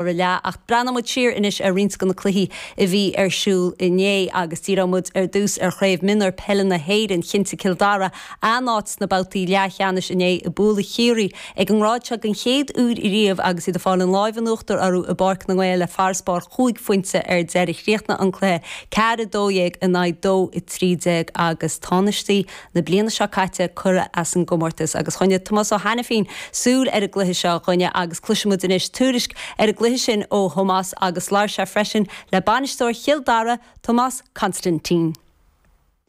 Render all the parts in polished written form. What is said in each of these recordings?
Leath, ach breathnóidh muid siar anois ar roinnt de na cluichí a bhí ar siúl inné agus díreoidh muid ar dtús ar Chraobh Mionúr Peile na hÉireann. Chinntigh Cill Dara a n-áit sna babhtaí leathcheannais inné ag bualadh Chiarraí ag an ngrád seo den chéad uair riamh agus iad ag fáil an láimh in uachtar orthu i bPáirc na nGael le farasbarr chúig phointe ar deireadh. Chríochnaigh an cluiche 4-12 in aghaidh 2-13 agus tánaistí na bliana seo caite curtha as an gcomórtas agus choinnigh Tomás Ó hAiniféin súil ar an gcluiche seo a dhuine agus cloisfidh muid anois tuairisc ar an gcluiche sin ó Thomás agus labhair sé freisin le bainisteoir Chill Dara, Tomás Constantine.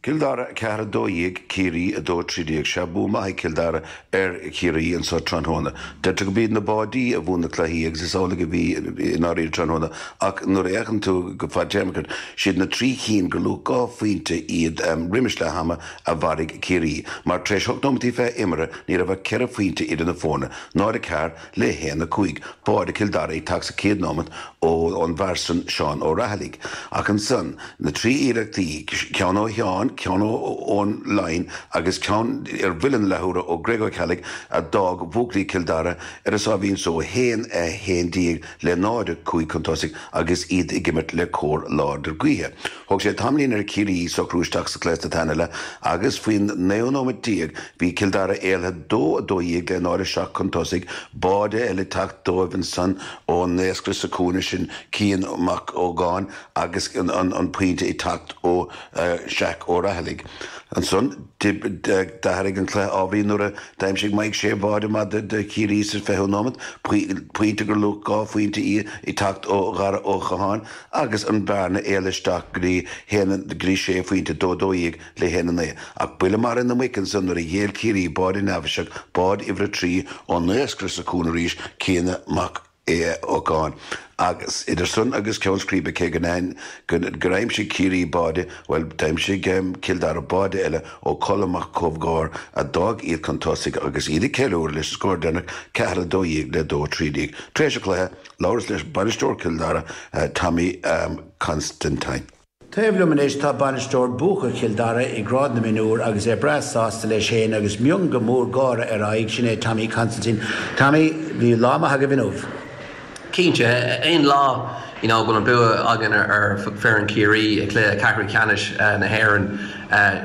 Cill Dara 4, 12, Ciarraí 2, 13. Sea, bua maith ag Cill Dara ar Chiarraí anso tráthnóna. Deirtear gurb iad na báidí a bhuann na cluichí agus is amhlaidh a bhí i ndáiríre tráthnóna ach nuair a fhéachann tú go fadtéarmach air, siad na trí chinn gur luach 2 phointe iad roimis leath ama a mharaigh Ciarraí mar tar éis hocht nóimeataí 20 imeartha ní raibh ach ceithre phointe idir na foirne, 0-4 le 1-5. Báide Chill Dara ag teacht sa chéad nóimeat ón bhfear san Seán Ó Raghallaigh. Ach ansan, na trí iarrachtaí, ceann ó Sheán, ceann ón line agus ceann ar bhuille na leathuaire ó Greg Ó Ceallaigh a d'fhág buachaillí Chill Dara ar a sáimhín só, 1-11 le 0-5 chun tosaigh agus iad ag imirt le cóir láidir gaoithe. Thóg sé tamaillín ar Chiarraí socrú isteach sa chluiche sa tarna leath agus faoin naoú nóimeat déag bhí Cill Dara éalaithe 2, 12 le 0, 7 chun tosaigh, báide eile ag teacht dóibh ansan ón naoscaire sa chúinne sin Cian Mac Ógáin agus an pointe ag teacht ó Jack Ó Raghallaigh. Ansan d'athraigh an cluiche ábhairín nuair a d'aimsigh Mike Shea báide maith do Chiarraí sa 20ú nóimeat, pointe gur luach 2 phointe í ag teacht ó Dhara Ó Catháin. agus an bhearna éalaithe isteach go dtí haon, go dtí sé phointe, 2, 12 le 1, 9. Ach buille maraithe na muice ansan nuair a ghéill Ciarraí báide neafaiseach, báide uimhir a 3 ón naoscaire sa chúinne arís, Cian Mac Eocháin. Agus idir san agus ceann scríbe, cé go gur aimsigh Ciarraí báide, bhuel, d'aimsigh Cill Dara báide eile ó Cholm Mac Cómhgháir a d'fhág iad chun tosaigh agus iad ag ceiliúradh leis an scór deireanach, 4, 12 le 2, 13. Tar éis an chluiche, Labhras leis bainisteoir Chill Dara, Tommy Constantine. Taobh liom anois tá bainisteoir buacach Chill Dara i ngrád na mionúr agus é breá sásta leis féin agus mionga mór gáire ar a aghaidh, sin é Tommy Constantine. Tommy, bhí lá maith agaibh inniu. Cinnte, aon lá you know go bhfuil an bua againn ar foireann Chiarraí i gcluiche ceathrú ceannais na hÉireann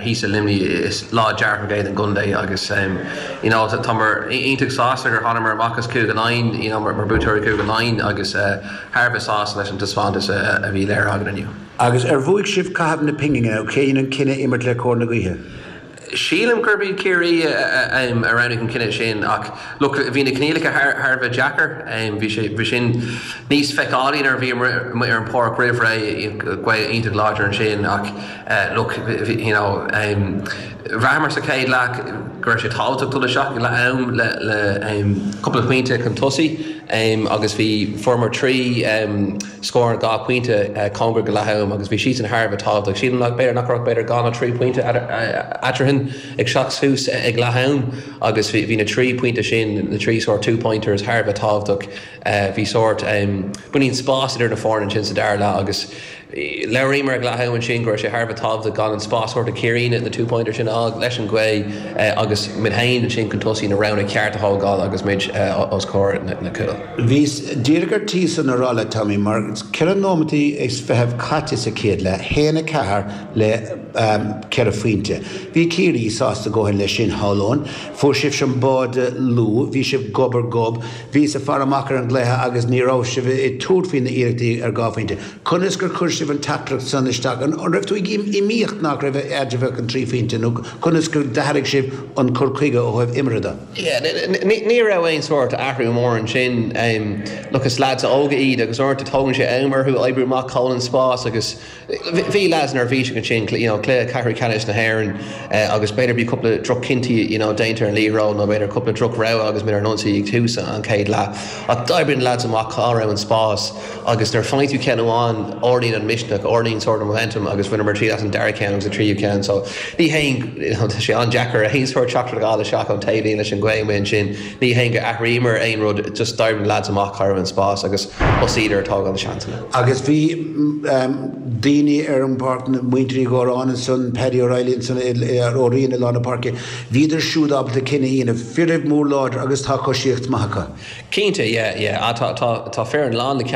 thíos i Luimnigh is lá dearfach é don gcontae agus you know táimid iontach sásta gur thánamar amach as Cúige Laighean you know mar buaiteoirí Cúige Laighean agus thar a bheith sásta leis an taispeántas a bhí léirithe againn inniu. Agus ar bhuaigh sibh caitheamh na pingine nó cé dhein an cinneadh imirt le cóir na gaoithe? Sílim gurb iad Ciarraí a roghnaigh an cinneadh sin ach look bhí na coinníollacha thar a bheith deacair. Bhí sé bhí sin níos feiceálaí nuair a bhíomar amuigh ar an pháirc roimh ré, gaoth iontach láidir ansin ach look you know bhraitheamar sa chéad leath go raibh sé tábhachtach dul isteach ag leath am le le cúpla pointe chun tosaigh agus bhí fuaireamar 3 Scór 2 phointe cóngarach go leath am agus bhí siadsan thar a bheith tábhachtach. Sílim nach b'fhéidir nach raibh b'fhéidir 2 nó 3 pointe eatarthu ag teacht suas ag leath am agus bhí na 3 pointe sin, na 3 sórt two pointers thar a bheith tábhachtach. Bhí sórt beagáinín spás idir na foirne ansin sa dara leath agus labhraíomar ag leath am ansin go raibh sé thar a bheith tábhachtach gan an spás a thabhairt do Ciarraí na two pointers sin a fháil leis an ghaoth agus muid féin ansin chun tosaigh na roghanna ceart a thógáil agus muid os comhair na cúil. Bhíos díreach ar tí san a rá leat, Tommy, mar 4 nóimeataí is fichead caite sa chéad leath, 1, 4 le 4 phointe. Bhí Ciarraí sásta a dhóthain leis sin, shamhlóinn. Fuair sibhse an báide luath, bhí sibh gob ar ghob, bhíos ag faire amach ar an gcluiche agus ní raibh sibh ag tabhairt faoi na iarrachtaí ar 2 phointe. Conas gur chuir sibh an teachtaireacht san isteach? An raibh tú ag iomaíocht nach raibh eadraibh ach an 3 phointe nó conas gur d'athraigh sibh an cur chuige ó thaobh imeartha de? Yeah, ní raibh aon sórt athrú mór ansin. Look, is lads óga iad agus uaireanta tógann sé am orthu oibriú amach cá bhfuil an spás agus bhí lads neirbhíseach ansin, you know, cluiche ceathrú ceannais na hÉireann agus b'fhéidir bhí cúpla droch-chinntí, you know, déanta ar an liathróid nó b'fhéidir cúpla droch-rogha agus muid ar an ionsaí ag tús an chéad leath. Ach d'oibrigh na lads amach cá raibh an spás agus nuair a faigheann tú ceann amháin, ardaíonn an misneach, ardaíonn sórt an momentum agus bhaineamar triail as an dara ceann agus an tríú ceann. So ní haon, tá sé an-deacair aon sórt teachtaireacht a fháil isteach ón taobhlíne leis an ghaoth amuigh ansin. Ní haon gur athraíomar aon rud, just d'oibrigh. d'éirigh na leaids amach, cha raibh an spás agus thosaíodar ag tógáil na seansanna. Agus bhí daoine ar an bpáirc, muintir Uí Ghóráin ansan, Paddy O'Reilly ansan, Ó Riain i lár na páirce, bhíodar siúd ábalta cinneadh a dhéanamh. Fir mór láidir agus tá coisíocht maith acu. Cinnte, yeah, yeah. Tá, tá, tá foireann lán le ceann.